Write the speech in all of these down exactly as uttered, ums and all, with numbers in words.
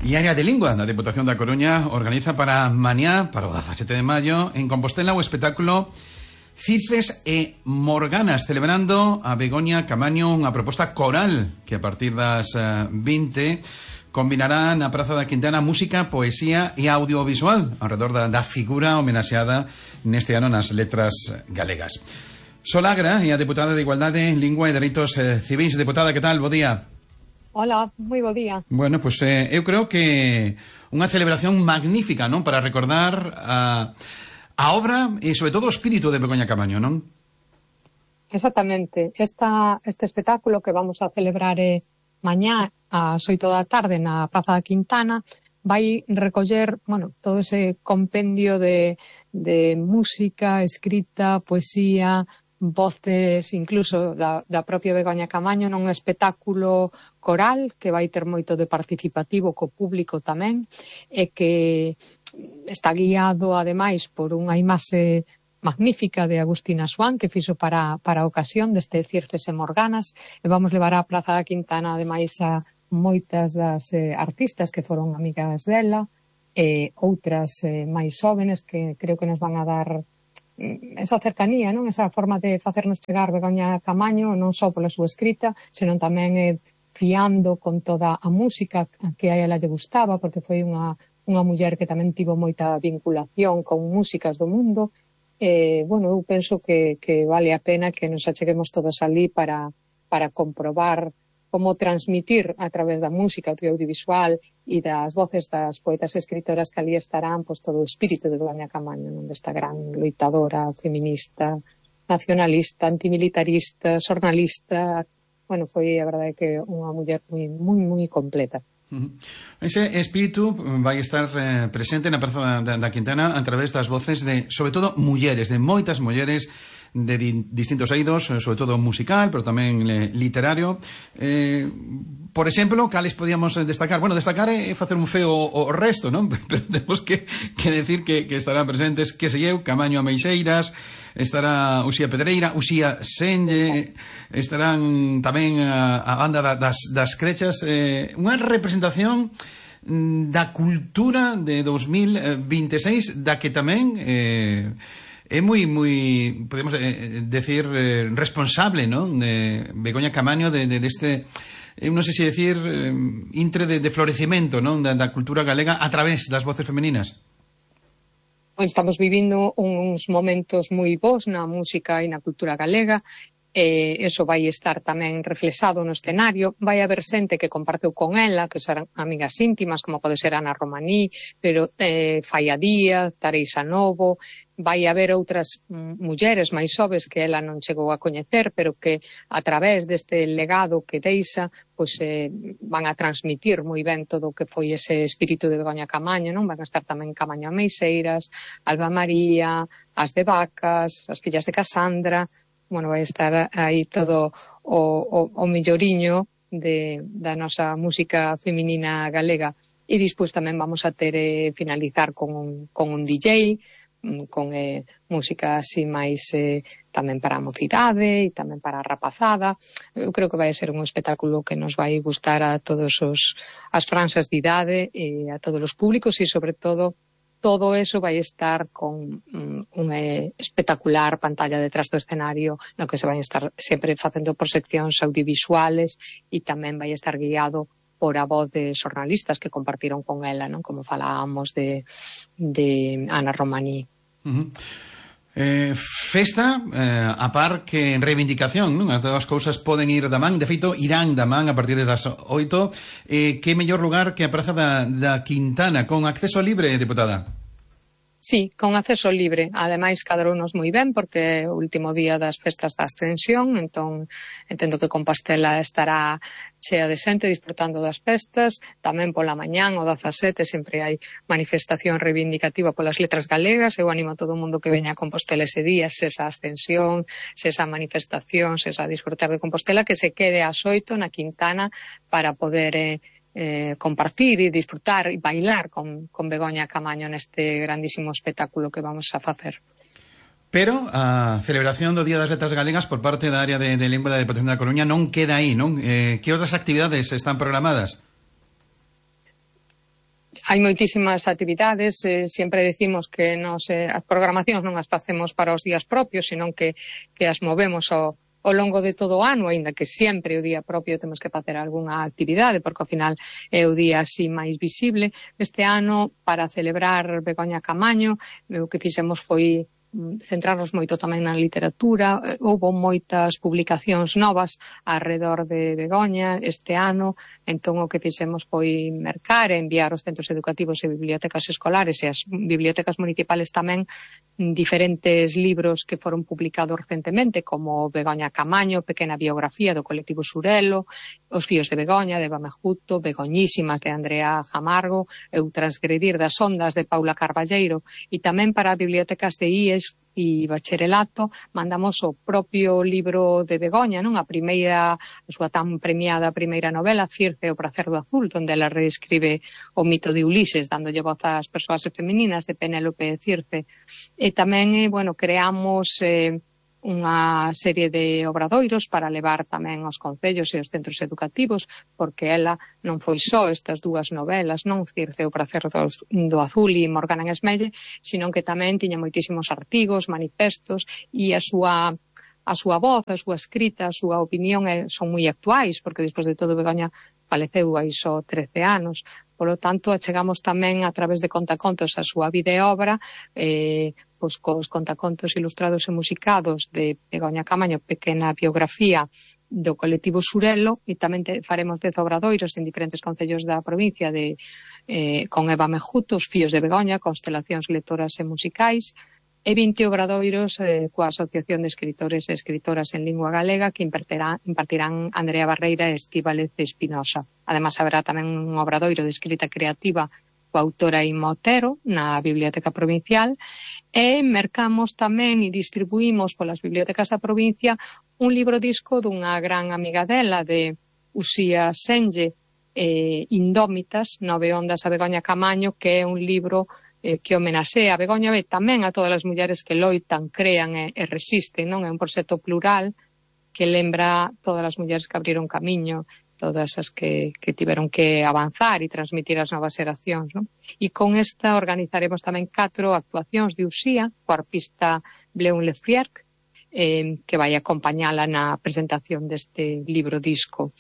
E a área de lingua da Deputación da Coruña organiza para mañá, para o dezasete de maio, en Compostela o espectáculo Circes e Morganas, celebrando a Begoña Camaño, unha proposta coral que a partir das vinte combinará na Praza da Quintana música, poesía e audiovisual alrededor da, da figura homenaxeada neste ano nas letras galegas. Sol Agra é a deputada de Igualdade, Lingua e Dereitos eh, Civis. Deputada, que tal? Bo día. Hola, moi bo día. Bueno, pois pues, eh, eu creo que unha celebración magnífica, non? Para recordar a, a obra e, sobre todo, o espírito de Begoña Camaño, non? Exactamente. Esta, este espectáculo que vamos a celebrar eh, mañá ás oito da tarde na Praza da Quintana vai recoller, bueno, todo ese compendio de, de música, escrita, poesía, voces incluso da, da propia Begoña Camaño nun espectáculo coral que vai ter moito de participativo co público tamén e que está guiado ademais por unha imaxe magnífica de Agustina Suán que fixo para, para a ocasión deste Circes e Morganas e vamos levar á Praza da Quintana ademais a moitas das eh, artistas que foron amigas dela e outras eh, máis xóvenes que creo que nos van a dar esa cercanía, non? Esa forma de facernos chegar Begoña Camaño non só pola súa escrita, senón tamén eh, fiando con toda a música que a ela lle gustaba, porque foi unha, unha muller que tamén tivo moita vinculación con músicas do mundo. Eh, bueno, eu penso que, que vale a pena que nos acheguemos todos ali para, para comprobar como transmitir a través da música, do audiovisual e das voces das poetas e escritoras que ali estarán, pois todo o espírito de Begoña Camaño, non, desta gran loitadora, feminista, nacionalista, antimilitarista, xornalista. Bueno, foi a verdade que unha muller moi moi moi completa. Uh-huh. Ese espírito vai estar eh, presente na Praza da, da Quintana a través das voces de, sobre todo, mulleres, de moitas mulleres de di, distintos eidos, sobre todo musical, pero tamén eh, literario. Eh, por exemplo, cales podíamos destacar? Bueno, destacar é facer un feo o, o resto, non? Pero temos que, que decir que, que estarán presentes, que se eu, Camaño Ameixeiras, estará Uxía Pedreira, Uxía Senlle, estarán tamén a, a banda da, das, das Crechas, eh, unha representación da cultura de dos mil veintiséis, da que tamén eh, é moi, moi, podemos eh, decir, eh, responsable, non? De Begoña Camaño de, de, de este, eu non sei se decir, eh, intre de, de florecimento, non? Da, da cultura galega a través das voces femininas. Estamos vivindo uns momentos moi bons na música e na cultura galega. E eso vai estar tamén reflexado no escenario. Vai haber xente que comparteu con ela, que serán amigas íntimas, como pode ser Ana Romaní, pero eh, Faia Díaz, Tareisa Novo. Vai haber outras mulleres máis xoves que ela non chegou a coñecer, pero que a través deste legado que deixa, pois eh, van a transmitir moi ben todo o que foi ese espírito de Begoña Camaño, non? Van a estar tamén Camaño Ameixeiras, Alba María, as de Vacas, as fillas de Casandra. Bueno, vai estar aí todo o, o, o melloriño de, da nosa música feminina galega. E despois tamén vamos a ter eh, finalizar con un, con un D J, con eh, música así máis eh, tamén para a mocidade e tamén para a rapazada. Eu creo que vai ser un espectáculo que nos vai gustar a todos os as franxas de idade e a todos os públicos e sobre todo todo eso vai estar con um, unha espectacular pantalla detrás do escenario no que se vai estar sempre facendo proxeccións audiovisuales e tamén vai estar guiado por a voz de xornalistas que compartiron con ela, non? Como falábamos de, de Ana Romaní. Uh-huh. Eh, festa eh, a par que reivindicación, non? As dúas cousas poden ir da man, de feito irán da man a partir das oito. Eh, que mellor lugar que a Praza da, da Quintana, con acceso libre, deputada? Sí, con acceso libre. Ademais, cadrounos moi ben, porque é o último día das festas da Ascensión, entón entendo que Compostela estará chea de xente disfrutando das festas. Tamén pola mañán, o dezasete, sempre hai manifestación reivindicativa polas letras galegas. Eu animo a todo o mundo que veña a Compostela ese día, se esa Ascensión, se esa manifestación, se esa disfrutar de Compostela, que se quede ás oito na Quintana para poder eh, eh, compartir e disfrutar e bailar con, con Begoña Camaño neste grandísimo espectáculo que vamos a facer. Pero a celebración do Día das Letras Galegas por parte da área de, de Lingua da Deputación da Coruña non queda aí, non? Eh, que outras actividades están programadas? hai moitísimas actividades, eh, sempre decimos que nos, eh, as programacións non as facemos para os días propios, senón que, que as movemos ao, ao longo de todo o ano, aínda que sempre o día propio temos que facer algunha actividade, porque ao final é o día así máis visible. Este ano, para celebrar Begoña Camaño, o que fixemos foi centrarnos moito tamén na literatura. Houbo moitas publicacións novas alrededor de Begoña este ano, entón o que fixemos foi mercar e enviar aos centros educativos e bibliotecas escolares e as bibliotecas municipales tamén diferentes libros que foron publicados recentemente, como Begoña Camaño, pequena biografía do colectivo Surelo, Os fíos de Begoña, de Eva Mejuto, Begoñísimas, de Andrea Jamargo, e O transgredir das ondas, de Paula Carballeiro, e tamén para bibliotecas de I E S e bacharelato mandamos o propio libro de Begoña, non? A primeira, a súa tan premiada primeira novela, Circe, o pracer do azul, onde ela reescribe o mito de Ulises, dándolle voz ás persoas femininas, de Penélope e Circe. E tamén, eh, bueno, creamos eh, unha serie de obradoiros para levar tamén aos concellos e aos centros educativos, porque ela non foi só estas dúas novelas, non Circe, o pracer do, do azul e Morgana en Esmelle, sino que tamén tiña moitísimos artigos, manifestos, e a súa a súa voz, a súa escrita, a súa opinión eh, son moi actuais, porque despois de todo Begoña faleceu hai só trece anos. Polo tanto, achegamos tamén a través de contacontos a súa vida e obra, eh, pois cos contacontos ilustrados e musicados de Begoña Camaño, pequena biografía do colectivo Surelo, e tamén te, faremos dez obradoiros en diferentes concellos da provincia de, eh, con Eva Mejuto, Os fíos de Begoña, constelacións lectoras e musicais, e vinte obradoiros eh, coa Asociación de Escritores e Escritoras en Lingua Galega, que impartirán, impartirán Andrea Barreira e Estíbaliz Espinosa. Además, haberá tamén un obradoiro de escrita creativa coa autora Inma Otero na Biblioteca Provincial, e mercamos tamén e distribuímos polas bibliotecas da provincia un libro disco dunha gran amiga dela, de Uxía Senlle, eh, Indómitas, Nove ondas a Begoña Camaño, que é un libro eh, que homenaxea a Begoña e tamén a todas as mulleres que loitan, crean e, e resisten, non? É un proxecto plural que lembra todas as mulleres que abriron camiño, todas as que, que tiveron que avanzar e transmitir as novas xeracións, non? E con esta organizaremos tamén catro actuacións de Uxía, co arpista Bleun Lefriarc, eh, que vai acompañala na presentación deste libro disco.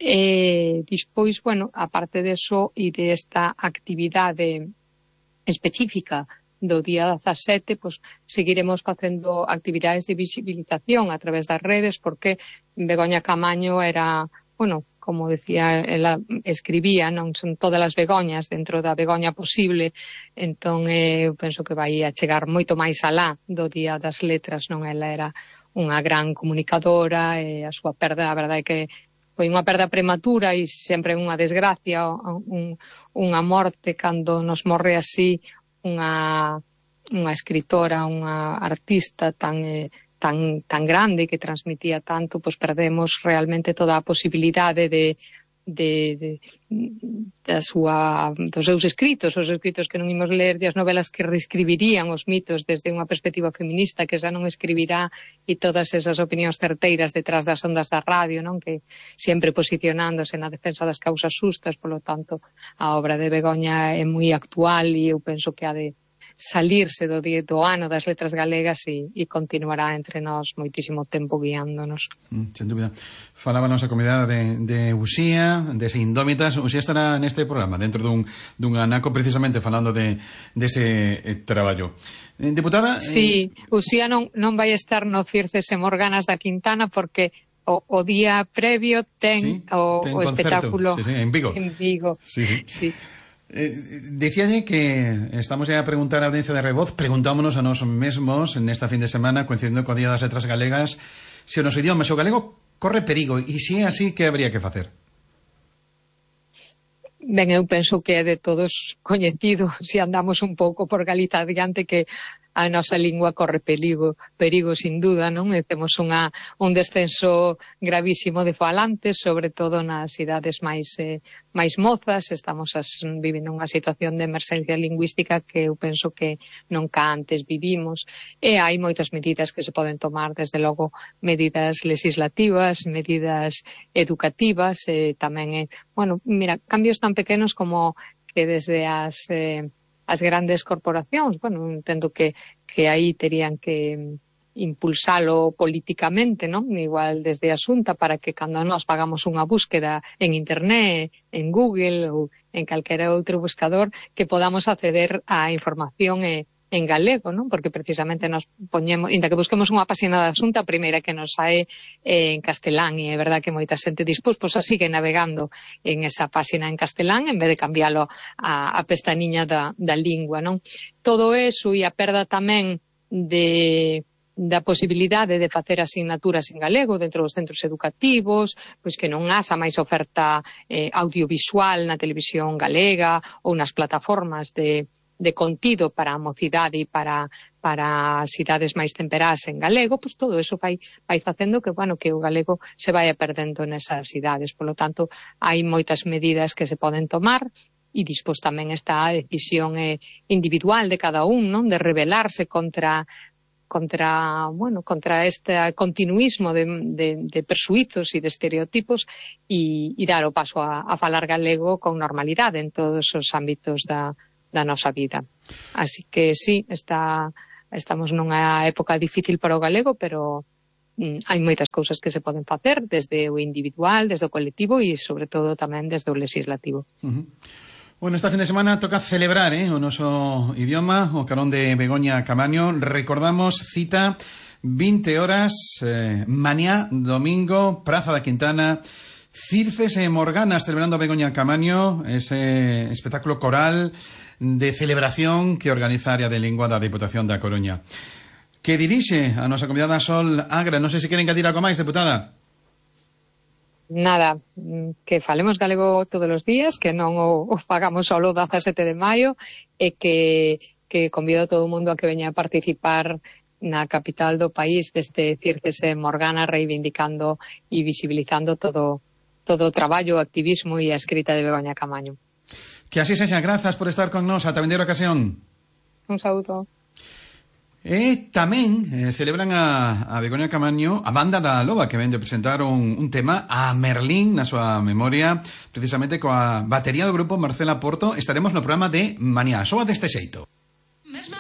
E despois, bueno, aparte deso e desta actividade específica do día dezasete, pois seguiremos facendo actividades de visibilización a través das redes, porque Begoña Camaño era, bueno, como decía, ela escribía, non son todas as Begoñas dentro da Begoña posible, entón eh, eu penso que vai a chegar moito máis alá do Día das Letras, non? Ela era unha gran comunicadora e a súa perda, a verdade é que foi unha perda prematura e sempre unha desgracia, un, unha morte cando nos morre así unha, unha escritora, unha artista tan... Eh, tan tan grande que transmitía tanto, pois perdemos realmente toda a posibilidade de de, de da súa dos seus escritos, os escritos que non imos ler, de as novelas que reescribirían os mitos desde unha perspectiva feminista, que xa non escribirá, e todas esas opinións certeiras detrás das ondas da radio, non? Que sempre posicionándose na defensa das causas xustas. Polo tanto, a obra de Begoña é moi actual e eu penso que ha de salirse do, do ano das letras galegas e, e continuará entre nós moitísimo tempo guiándonos. Mm, sen dúbida. Falábanos a comunidade de, de Uxía, de Indómitas. Uxía estará neste programa, dentro dun, dun anaco, precisamente falando de, de ese eh, traballo. Eh, Deputada... Sí, eh... Uxía non, non vai estar no Circes e Morganas da Quintana, porque o, o día previo ten sí, o, ten o espectáculo sí, sí, en Vigo. En Vigo. Sí, sí. Sí. Eh, Dicíalle que estamos ya a preguntar a audiencia de Revoz, preguntámonos a nós mesmos nesta fin de semana, coincidindo co Día das Letras Galegas, se o noso idioma, se o galego corre perigo, e se é así, que habría que facer? Ben, eu penso que é de todos coñecido, se andamos un pouco por Galiza adiante, que a nosa lingua corre perigo, perigo sin duda, non? E temos unha, un descenso gravísimo de falantes, sobre todo nas idades máis, eh, máis mozas. Estamos as, vivindo unha situación de emerxencia lingüística que eu penso que nunca antes vivimos. E hai moitas medidas que se poden tomar, desde logo medidas legislativas, medidas educativas, e tamén, eh, bueno, mira, cambios tan pequenos como que desde as, eh, as grandes corporacións, bueno, entendo que, que aí terían que impulsalo políticamente, non? Igual desde a Xunta, para que cando nós pagamos unha búsqueda en internet, en Google ou en calquera outro buscador, que podamos acceder á información e en galego, non? Porque precisamente nos poñemos, inda que busquemos unha páxina da Xunta, a primeira que nos sae eh, en castelán, e é verdad que moita xente dispós, pois así que navegando en esa páxina en castelán, en vez de cambiálo a, a pestañiña da, da lingua, non? Todo eso e a perda tamén de da posibilidade de facer asignaturas en galego dentro dos centros educativos, pois que non haxa máis oferta eh, audiovisual na televisión galega ou nas plataformas de, de contido para a mocidade e para, para as idades máis temperadas en galego, pois todo eso vai, vai facendo que, bueno, que o galego se vaya perdendo nesas idades. Por lo tanto, hai moitas medidas que se poden tomar, e dispós tamén está a decisión eh, individual de cada un, non? De rebelarse contra contra, bueno, contra este continuismo de, de, de persuizos e de estereotipos e, e dar o paso a, a falar galego con normalidade en todos os ámbitos da, da nosa vida. Así que sí, está, estamos nunha época difícil para o galego, pero mm, hai moitas cousas que se poden facer desde o individual, desde o colectivo e sobre todo tamén desde o legislativo. Uh-huh. Bueno, esta fin de semana toca celebrar eh, o noso idioma, o carón de Begoña Camaño. Recordamos, cita, vinte horas, eh, mañá, domingo, Praza da Quintana, Circes e Morganas celebrando Begoña Camaño, ese espectáculo coral de celebración que organiza a Área de Lingua da Diputación da Coruña. Que dirixe a nosa convidada Sol Agra. Non sei se queren engadir algo máis, deputada. Nada, que falemos galego todos os días, que non o, o fagamos só o dezasete de maio, e que, que convido a todo o mundo a que veña a participar na capital do país deste Circes e Morgana, reivindicando e visibilizando todo, todo o traballo, o activismo e a escrita de Begoña Camaño. Que así sexa, grazas por estar con nos, ata vindeira ocasión. Un saúdo. E tamén eh, celebran a, a Begoña Camaño, a banda da Loba, que ven de presentar un, un tema a Merlín na súa memoria, precisamente coa batería do grupo Marcela Porto. Estaremos no programa de Mañá, soa deste xeito.